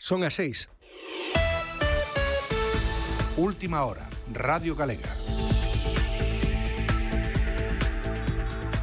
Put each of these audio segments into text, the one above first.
Son as 6. Última hora, Radio Galega.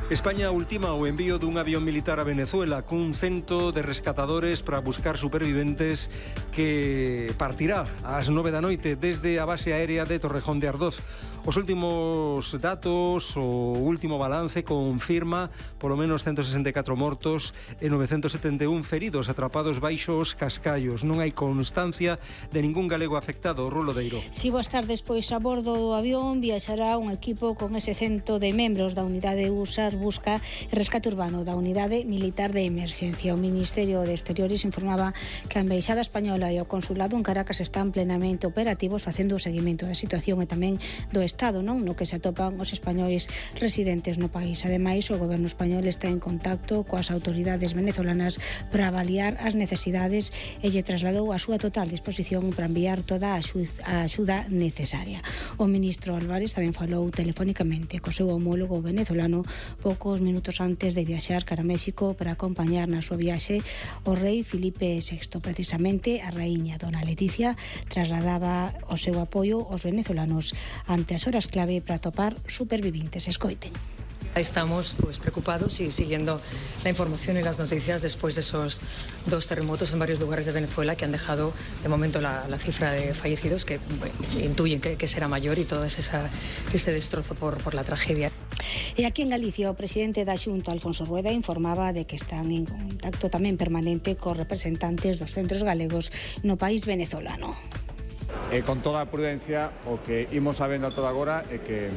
España ultima o envío dun avión militar a Venezuela cun cento de rescatadores para buscar superviventes que partirá ás 9 da noite desde a base aérea de Torrejón de Ardoz. Os últimos datos, o último balance confirma polo menos 164 mortos e 971 feridos atrapados baixo os cascallos. Non hai constancia de ningún galego afectado. Rulo Deiro. Si boas tardes, pois a bordo do avión viaxará un equipo con ese cento de membros da unidade USAR Busca e Rescate Urbano da Unidade Militar de Emerxencia. O Ministerio de Exteriores informaba que a Embaixada Española e o Consulado en Caracas están plenamente operativos facendo o seguimento da situación e tamén do Estado, non, no que se atopan os españois residentes no país. Ademais, o goberno español está en contacto coas autoridades venezolanas para avaliar as necesidades e lle trasladou a súa total disposición para enviar toda a axuda necesaria. O ministro Álvarez tamén falou telefónicamente co seu homólogo venezolano poucos minutos antes de viaxar cara a México para acompañar na súa viaxe o rei Filipe VI. Precisamente, a raíña Dona Leticia trasladaba o seu apoio aos venezolanos ante as horas clave para atopar supervivientes. Escoiten. Estamos preocupados y siguiendo la información y las noticias después de esos dos terremotos en varios lugares de Venezuela que han dejado de momento la cifra de fallecidos que intuyen que será mayor y todo ese destrozo por la tragedia. E aquí en Galicia o presidente da Xunta, Alfonso Rueda, informaba de que están en contacto tamén permanente cos representantes dos centros galegos no país venezolano. Con toda a prudencia, o que imos sabendo a toda agora é que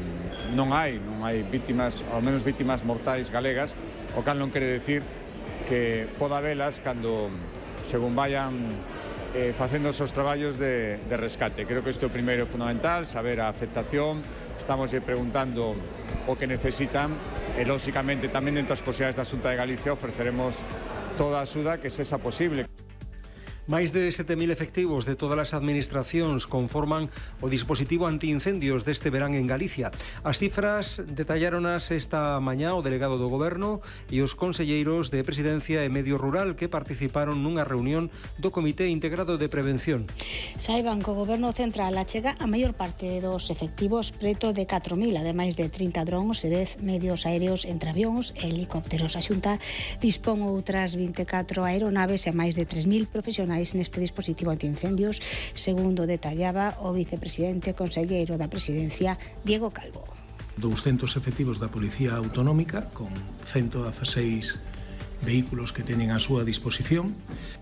non hai vítimas, ao menos vítimas mortais galegas, o cal non quere decir que poda velas cando según vayan facendo os seus traballos de rescate. Creo que isto é o primeiro fundamental, saber a afectación, estamos preguntando o que necesitan e, lóxicamente, tamén entre as posibilidades da Xunta de Galicia ofreceremos toda a axuda que sexa posible. Máis de 7.000 efectivos de todas as administracións conforman o dispositivo antiincendios deste verán en Galicia. As cifras detalláronas esta mañá o delegado do Goberno e os conselleiros de Presidencia e Medio Rural que participaron nunha reunión do Comité Integrado de Prevención. Saiban que o Goberno Central achega a maior parte dos efectivos, preto de 4.000, ademais de 30 drones e 10 medios aéreos entre avións e helicópteros. A Xunta dispón outras 24 aeronaves e máis de 3.000 profesionais neste dispositivo antiincendios, segundo detallaba o vicepresidente e conselleiro da Presidencia, Diego Calvo. 200 efectivos da Policía Autonómica, con 116 vehículos que teñen a súa disposición.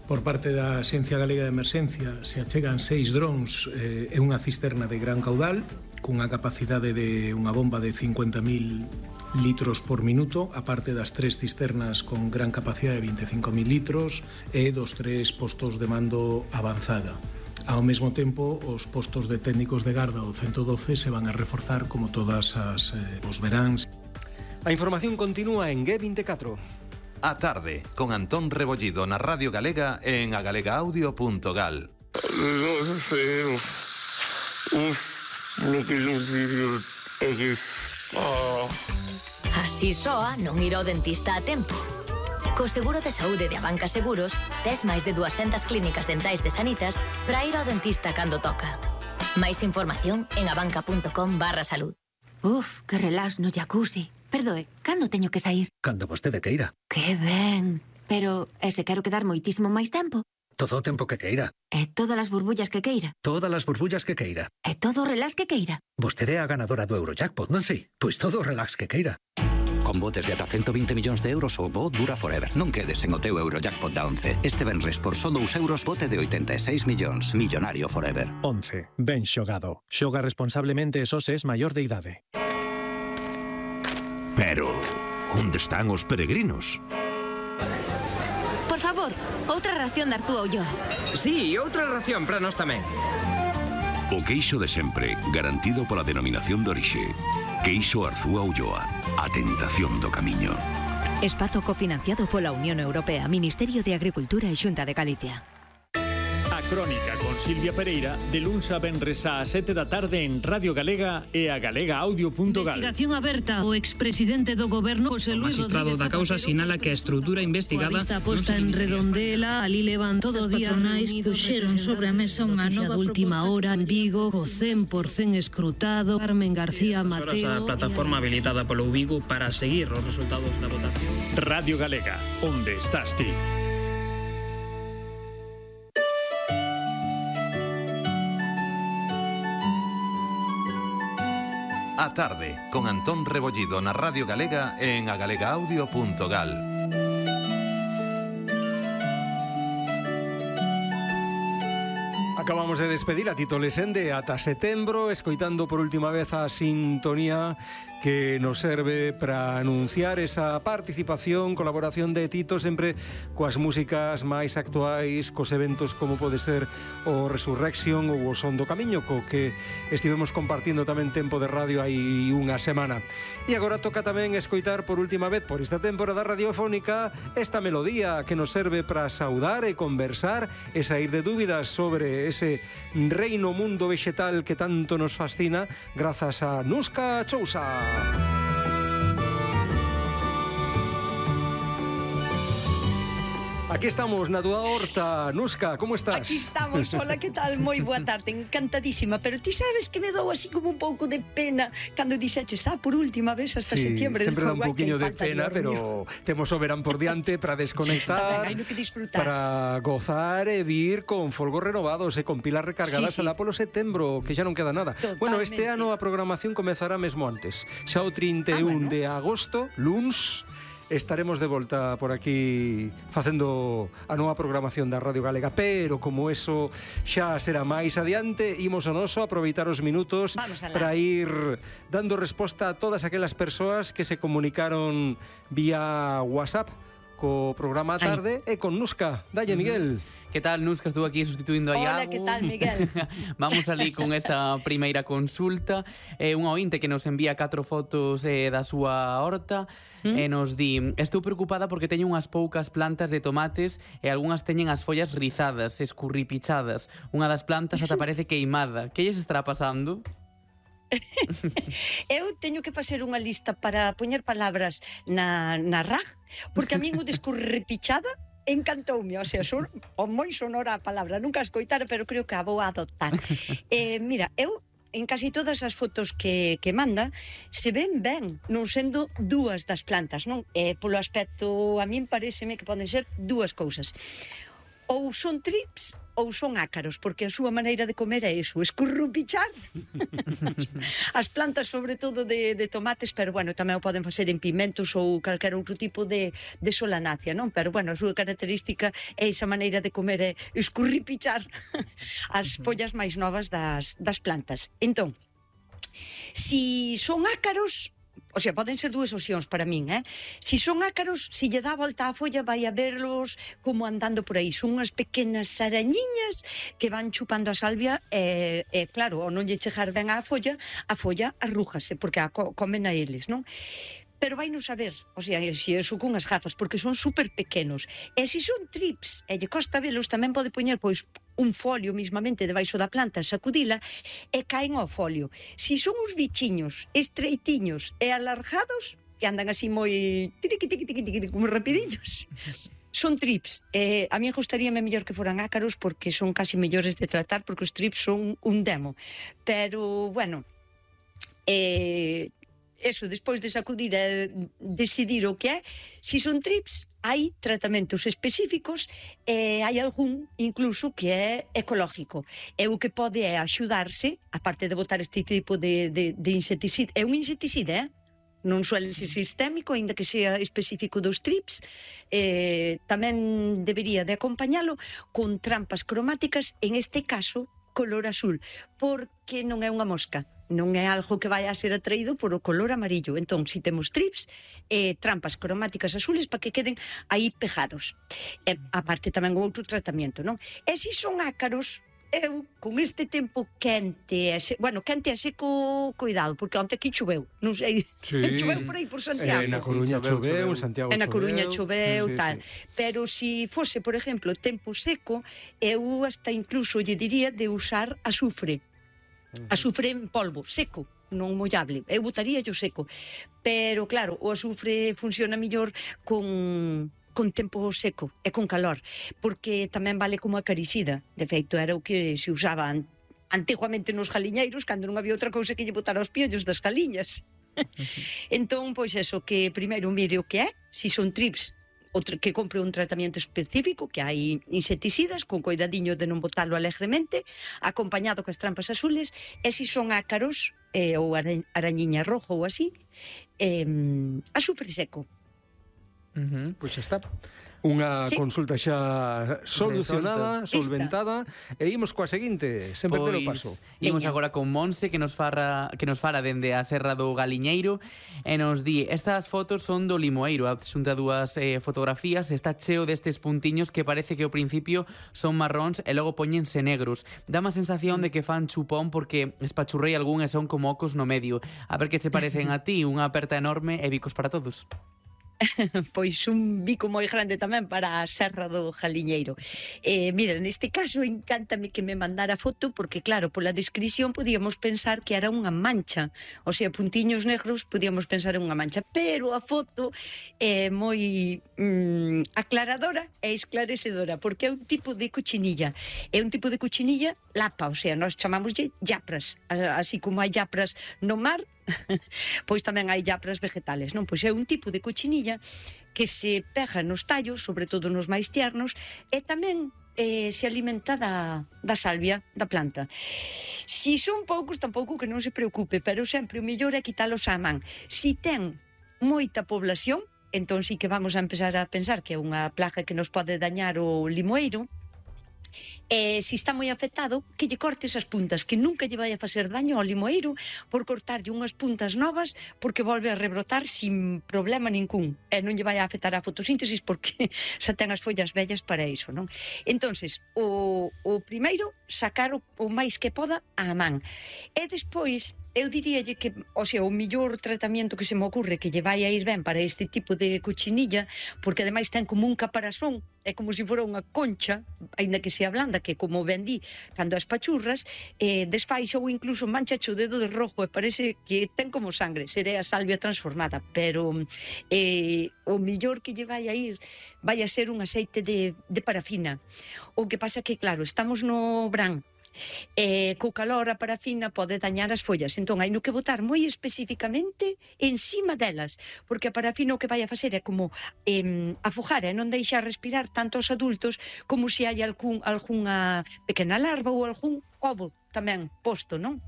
Por parte da Axencia Galega de Emerxencia se achegan 6 drones e unha cisterna de gran caudal, cunha capacidade de unha bomba de 50.000 litros por minuto, aparte das 3 cisternas con gran capacidade de 25.000 litros e dos 3 postos de mando avanzada. Ao mesmo tempo, os postos de técnicos de garda do 112 se van a reforzar como todas os veráns. A información continúa en G24. A tarde, con Antón Rebollido na Radio Galega en agalegaudio.gal. Así soa non ir ao dentista a tempo. Co seguro de saúde de Abanca Seguros, tes máis de 200 clínicas dentais de Sanitas para ir ao dentista cando toca. Máis información en abanca.com/salud. Uf, que relax no jacuzzi. Perdoe, cando teño que sair? Cando vostede queira. Que ben. Pero, e se quero quedar moitísimo máis tempo? Todo o tempo que queira. E todas as burbullas que queira? Todas as burbullas que queira. E todo o relax que queira? Vostede é a ganadora do Eurojackpot, non sei? Pois todo o relax que queira. Con botes de ata 120 millóns de euros o bo dura forever. Non quedes en o teu Eurojackpot da 11. Este venres por só 2 euros bote de 86 millóns. Millonario forever. 11. Ben xogado. Xoga responsablemente e só se es maior de idade. Pero, onde están os peregrinos? Por favor, outra ración de Arzúa Ulloa. Sí, outra ración para nós tamén. O queixo de sempre, garantido pola denominación de orixe. Queixo Arzúa Ulloa, a tentación do camiño. Espazo cofinanciado pola Unión Europea, Ministerio de Agricultura e Xunta de Galicia. A Crónica con Silvia Pereira de luns a venres a 7 da tarde en Radio Galega e a galegaaudio.gal. Investigación aberta. O expresidente do goberno, José Luis Rodríguez Zapatero, magistrado da causa sinala que a estrutura investigada... A vista posta en Redondela, ali levan todo o día... As patronais puxeron sobre a mesa unha nova última hora en Vigo, co 100% escrutado. Carmen García Mateo... A plataforma habilitada polo Vigo para seguir os resultados da votación. Radio Galega, onde estás ti? A tarde, con Antón Rebollido na Radio Galega e en agalegaaudio.gal. Acabamos de despedir a Tito Lesende ata setembro, escoitando por última vez a sintonía que nos serve para anunciar esa participación, colaboración de Tito sempre coas músicas máis actuais, cos eventos como pode ser o Resurrection ou o Son do Camiño, co que estivemos compartindo tamén tempo de radio hai unha semana. E agora toca tamén escoitar por última vez por esta temporada radiofónica esta melodía que nos serve para saudar e conversar e sair de dúbidas sobre ese reino mundo vegetal que tanto nos fascina grazas a Nuska Chousa. Aquí estamos na túa horta, Nuska, como estás? Aquí estamos, hola, que tal? Moi boa tarde, encantadísima. Pero ti sabes que me dou así como un pouco de pena cando dixeches, por última vez hasta setiembre. Sempre dá un poquinho de pena, pero temos o verán por diante para desconectar, hai no que disfrutar, para gozar e vir con folgos renovados e con pilas recargadas alá polo setembro, que xa non queda nada. Totalmente. Bueno, este ano a programación comezará mesmo antes. Xa o 31 de agosto, luns, estaremos de volta por aquí facendo a nova programación da Radio Galega, pero como eso xa será máis adiante, imos ao noso aproveitar os minutos para ir dando resposta a todas aquelas persoas que se comunicaron vía WhatsApp co programa a tarde e con Nuska. Dalle, Miguel. Que tal, Nuska? Estou aquí sustituindo a Iago. Hola, que tal, Miguel? Vamos ali con esa primeira consulta. Un ointe que nos envía 4 fotos da súa horta e nos di: estou preocupada porque teño unhas poucas plantas de tomates e algunhas teñen as follas rizadas, escurripichadas. Unha das plantas ata parece queimada. Que lles estará pasando? Eu teño que facer unha lista para poñer palabras na RAG, porque a min o descurripichada encantoume, o sea, son moi sonora a palabra, nunca a escoitara, pero creo que a vou adoptar. Mira, eu en casi todas as fotos que manda se ven ben, non sendo dúas das plantas, non? Polo aspecto, a min pareceme que poden ser dúas cousas. Ou son trips ou son ácaros, porque a súa maneira de comer é iso, escurrupichar as plantas, sobre todo de tomates, pero bueno, tamén o poden facer en pimentos ou calquera outro tipo de solanácea, non? Pero bueno, a súa característica é esa maneira de comer, é escurripichar as follas máis novas das plantas. Entón, si son ácaros, o sea, poden ser dúas opcións para min, Si son ácaros, si lle dá volta á folla, vai a verlos como andando por aí. Son unhas pequenas arañiñas que van chupando a salvia e claro, ao non lle chegar ben á folla, a folla arrújase, porque a comen a eles, non? Pero vai non saber, o sea, se eso con as gafas, porque son super pequenos. E se son trips, e lle costa velos, tamén pode poñer, pois, un folio mismamente debaixo da planta, sacudila, e caen ao folio. Si son uns bichiños estreitiños e alargados, que andan así moi como rapidillos, son trips. A mí gustaríame mellor que foran ácaros, porque son casi mellores de tratar, porque os trips son un demo. Pero, bueno, eso, despois de sacudir e decidir o que é, si son trips, hai tratamentos específicos e hai algún, incluso, que é ecológico. E o que pode é axudarse, aparte de botar este tipo de insecticida, é un insecticida, non suele ser sistémico, ainda que sea específico dos trips, tamén debería de acompañalo con trampas cromáticas, en este caso, color azul, porque non é unha mosca, non é algo que vai a ser atraído por o color amarillo. Entón, si temos trips, trampas cromáticas azules para que queden aí pegados. Aparte tamén outro tratamento, non? E si son ácaros, eu, con este tempo quente, quente e seco, cuidado, porque onte aquí choveu, non sei, choveu por aí, por Santiago. Na Coruña choveu, en Santiago choveu. Na Coruña choveu, tal. Pero si fose, por exemplo, tempo seco, eu hasta incluso lle diría de usar azufre. Azufre en polvo, seco, non mollable. Eu botaría yo seco. Pero, claro, o azufre funciona mellor con tempo seco e con calor, porque tamén vale como acaricida. De feito, era o que se usaba antiguamente nos galiñeiros, cando non había outra cousa que lle botar aos piollos das galiñas. Entón, pois eso, que primeiro mire o que é, se son trips, que compre un tratamento específico, que hai insecticidas, con coidadiño de non botalo alegremente, acompañado coas trampas azules, e se son ácaros, ou arañiña rojo ou así, azufre seco. Pois xa está. Unha consulta xa solucionada, solventada, e imos coa seguinte, sempre pelo paso. Imos agora con Monse, que nos fala dende a Serra do Galiñeiro, e nos di, estas fotos son do Limoeiro, adxunta dúas fotografías, está cheo destes puntiños que parece que ao principio son marróns e logo poñense negros. Dá má sensación de que fan chupón porque espachurrei algún e son como ocos no medio. A ver que se parecen a ti, unha aperta enorme e bicos para todos. Pois un bico moi grande tamén para a Serra do Galiñeiro. Mira, neste caso encántame que me mandara foto, porque claro, pola descripción podíamos pensar que era unha mancha, o sea, puntiños negros podíamos pensar en unha mancha, pero a foto é moi aclaradora e esclarecedora, porque é un tipo de cochinilla, é un tipo de cochinilla lapa, o sea, nós chamámoslle yapras, así como hai yapras no mar, pois tamén hai yapras vegetales, non? Pois é un tipo de cochinilla que se pega nos tallos, sobre todo nos máis tiernos, e tamén se alimenta da salvia da planta. Si son poucos, tampouco que non se preocupe, pero sempre o mellor é quitalos á man. Si ten moita población, entón sí que vamos a empezar a pensar que é unha plaga que nos pode dañar o limoeiro. Se está moi afectado, que lle cortes as puntas, que nunca lle vai a facer daño ao limoeiro por cortarlle unhas puntas novas, porque volve a rebrotar sin problema ningún, e non lle vai a afectar a fotosíntesis porque xa ten as follas vellas para iso, non? Entonces, o primeiro, sacar o máis que poda á man, e despois eu diríalle que, o sea, o millor tratamento que se me ocurre que lle vai a ir ben para este tipo de cochinilla, porque ademais ten como un caparazón, é como se fora unha concha, aínda que sea blanda, que como ben di, cando as pachurras, desfaixa ou incluso manchache o dedo de rojo e parece que ten como sangre, seré a salvia transformada, pero o millor que lle vai a ir vai a ser un aceite de parafina. O que pasa que, claro, estamos no verán, co calor a parafina pode dañar as follas, entón hai no que botar moi especificamente encima delas, porque a parafina o que vai a facer é como afogar e non deixar respirar tanto os adultos como se hai algunha pequena larva ou algún ovo tamén posto, non?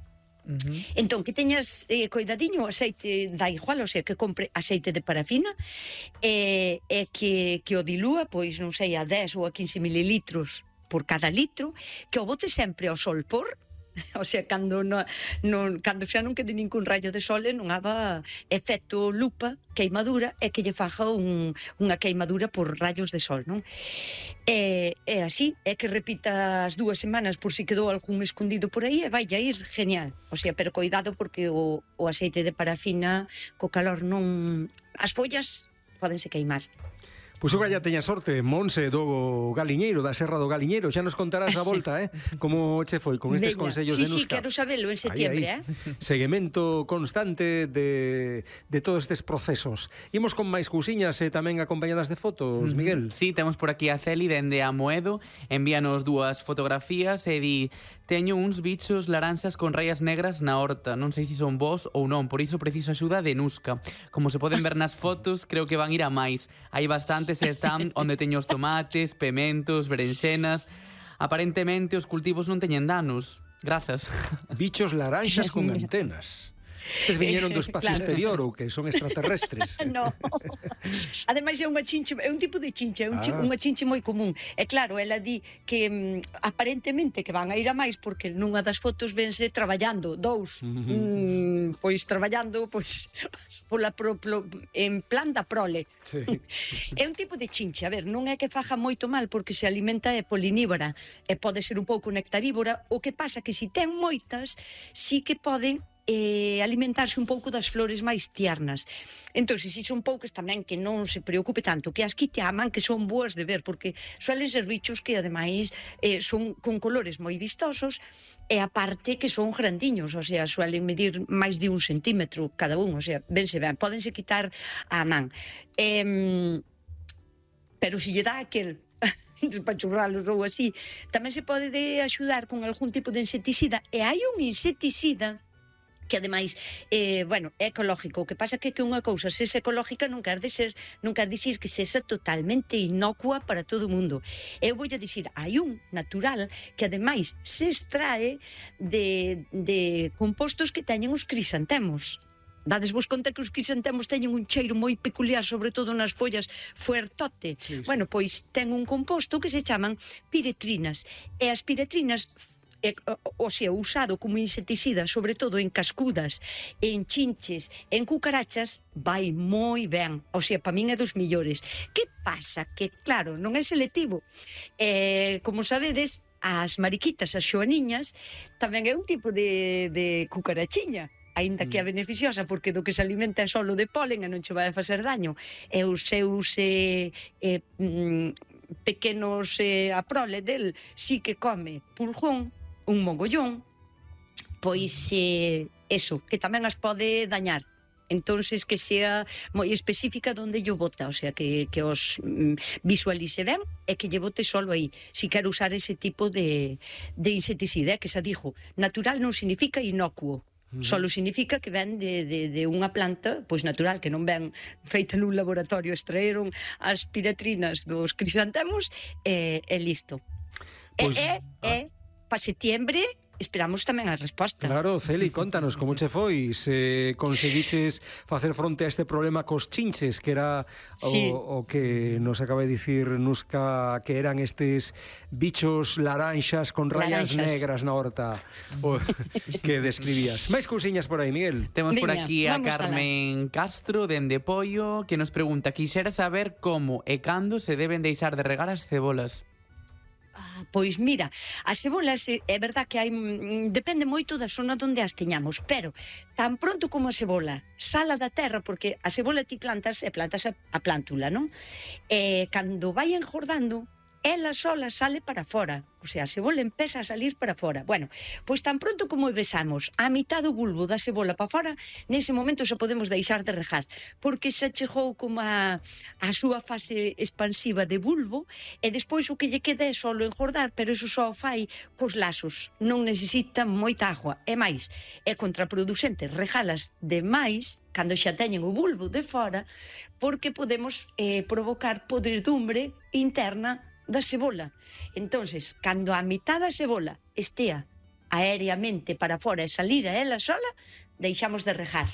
Entón, que teñas coidadiño, o aceite da igual, o sea, que compre aceite de parafina e que o dilúa, pois non sei, a 10 ou a 15 mililitros por cada litro, que o bote sempre ao sol por, o sea, cando xa non quede ningún rayo de sol e non haga efecto lupa, queimadura, e que lle faja unha queimadura por rayos de sol, non? E así, é que repita as 2 semanas por si quedou algún escondido por aí e vai a ir genial, o sea, pero cuidado porque o aceite de parafina co calor non... as follas pódense queimar. Pois oga ya teña sorte, Monse do Galiñeiro, da Serra do Galiñeiro. Xa nos contarás a volta, como che foi con estes consellos de Nusca. Sí, quero sabelo en setiembre, Seguimento constante de todos estes procesos. Imos con máis cousiñas e tamén acompañadas de fotos, Miguel. Sí, temos por aquí a Celi dende Amoedo, envíanos 2 fotografías e di: teño uns bichos laranxas con rayas negras na horta, non sei se son vos ou non, por iso preciso axuda de Nusca. Como se poden ver nas fotos, creo que van ir a máis. Hai bastantes e están onde teño os tomates, pementos, berenxenas. Aparentemente os cultivos non teñen danos. Grazas. Bichos laranxas con antenas. Estes viñeron do espacio exterior ou que son extraterrestres? No. Ademais é unha chinche, é un tipo de chinche, unha chinche moi común. E claro, ela di que aparentemente que van a ir a máis porque nunha das fotos vense traballando, pois traballando pois en plan da prole. Sí. É un tipo de chinche, a ver, non é que faja moito mal porque se alimenta é polinívora e pode ser un pouco nectarívora, o que pasa que se ten moitas, sí que poden alimentarse un pouco das flores máis tiernas. Entón, se son poucas tamén que non se preocupe tanto, que as quite a man, que son boas de ver, porque suelen ser bichos que ademais son con colores moi vistosos e aparte que son grandiños, o sea, suelen medir máis de 1 centímetro cada un, o sea, vense ben, pódense quitar a man. Pero se lle dá aquel despachurralos ou así, tamén se pode axudar con algún tipo de insecticida, e hai un insecticida que ademais, é ecológico. O que pasa que unha cousa sexa ecológica non quer dicir que sexa totalmente inocua para todo o mundo. Eu vou a dicir, hai un natural que ademais se extrae de compostos que teñen os crisantemos. Dades vos conta que os crisantemos teñen un cheiro moi peculiar, sobre todo nas follas fuertote. Sí. Bueno, pois ten un composto que se chaman piretrinas. E as piretrinas, o sea, usado como insecticida, sobre todo en cascudas, en chinches, en cucarachas, vai moi ben. O sea, para min é dos millores. Que pasa? Que, claro, non é selectivo. Como sabedes, as mariquitas, as xoaniñas, tamén é un tipo de cucarachiña, aínda que é beneficiosa, porque do que se alimenta é solo de polen e non che vai a facer daño. E os seus pequenos, a prole del, sí que come pulgón, un mogollón, pois eso, que tamén as pode dañar. Entonces que sea moi específica onde lle bota, o sea, que os visualice ben e que lle bote solo aí. Si quero usar ese tipo de insecticida, que xa dixo, natural non significa inocuo. Solo significa que ven de unha planta pois natural, que non ven feita nun laboratorio, extraeron as piretrinas dos crisantemos e listo. Pues, para setembro esperamos tamén a resposta. Claro, Celi, contanos como che foi, se conseguiches facer fronte a este problema cos chinches, que era o que nos acaba de dicir Nusca, que eran estes bichos laranxas con rayas negras na horta que describías. Máis cousiñas por aí, Miguel? Temos por aquí a Carmen Castro, dende Pollo, que nos pregunta, quixera saber como e cando se deben deixar de regar as cebolas. Pois mira, as cebolas é verdad que depende moito da zona onde as teñamos, pero tan pronto como a cebola sala da terra, porque a cebola ti plantas a plántula, non? E cando vai engordando, ela sola sale para fora, o sea, a cebola empeza a salir para fora. Bueno, pois tan pronto como besamos a mitad do bulbo da cebola para fora, nese momento xa podemos deixar de regar, porque xa chegou como a súa fase expansiva de bulbo, e despois o que lle queda é solo engordar, pero iso só fai cos lazos, non necesita moita agua. E máis, é contraproducente regalas demais cando xa teñen o bulbo de fora, porque podemos provocar podredumbre interna da cebola. Entonces, cando a mitad da cebola estea aéreamente para fora e salir a ela sola, deixamos de regar.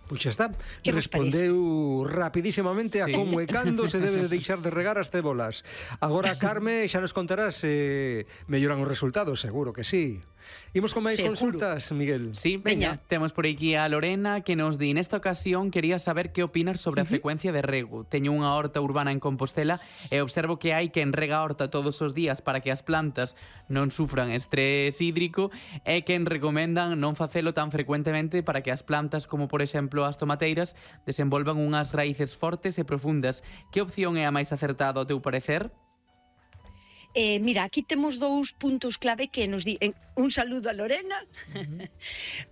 Pois xa está, respondeu rapidísimamente a como e cando se debe de deixar de regar as cebolas. Agora, Carme, xa nos contarás se melloran os resultados, seguro que sí. Imos con máis consultas, Miguel. Sí, veña. Temos por aquí a Lorena, que nos di, nesta ocasión quería saber que opinas sobre a frecuencia de rego. Teño unha horta urbana en Compostela e observo que hai quen rega a horta todos os días para que as plantas non sufran estrés hídrico e quen recomendan non facelo tan frecuentemente para que as plantas, como por exemplo as tomateiras, desenvolvan unhas raíces fortes e profundas. Que opción é a máis acertada ao teu parecer? Mira, aquí temos dous puntos clave que nos di... Un saludo a Lorena,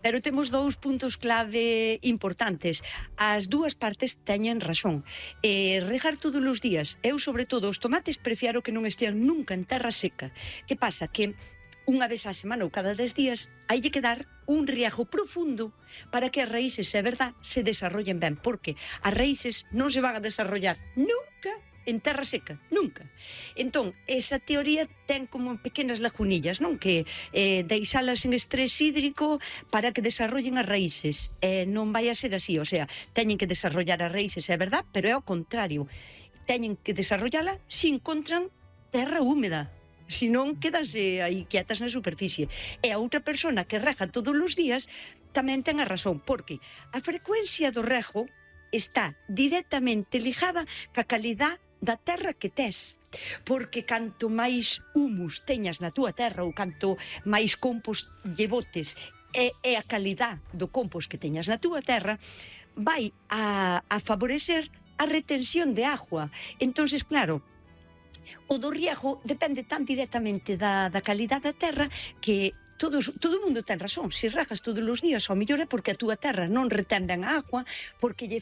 pero temos dous puntos clave importantes. As dúas partes teñen razón. Regar todos os días, eu sobre todo os tomates prefiero que non estean nunca en terra seca. Que pasa? Que unha vez á semana ou cada 10 días hai que dar un riego profundo para que as raíces, é verdad, se desarrollen ben, porque as raíces non se van a desarrollar nunca en terra seca, nunca. Entón, esa teoría ten como pequenas lagunillas, non? Que deixalas en estrés hídrico para que desarrollen as raíces. Non vai a ser así, o sea, teñen que desarrollar as raíces, é verdad, pero é ao contrario. Teñen que desarrollala se encontran terra húmeda. Se non, quedanse aí quietas na superficie. E a outra persona que rega todos os días tamén ten a razón, porque a frecuencia do rego está directamente ligada ca calidad da terra que tes. Porque canto máis humus teñas na túa terra ou canto máis compost lle botes e a calidad do compost que teñas na túa terra vai a favorecer a retención de agua. Entonces, claro, o do riego depende tan directamente da calidad da terra que todo o mundo ten razón. Se regas todos os días, ao mellor é porque a túa terra non retén ben a agua, porque lle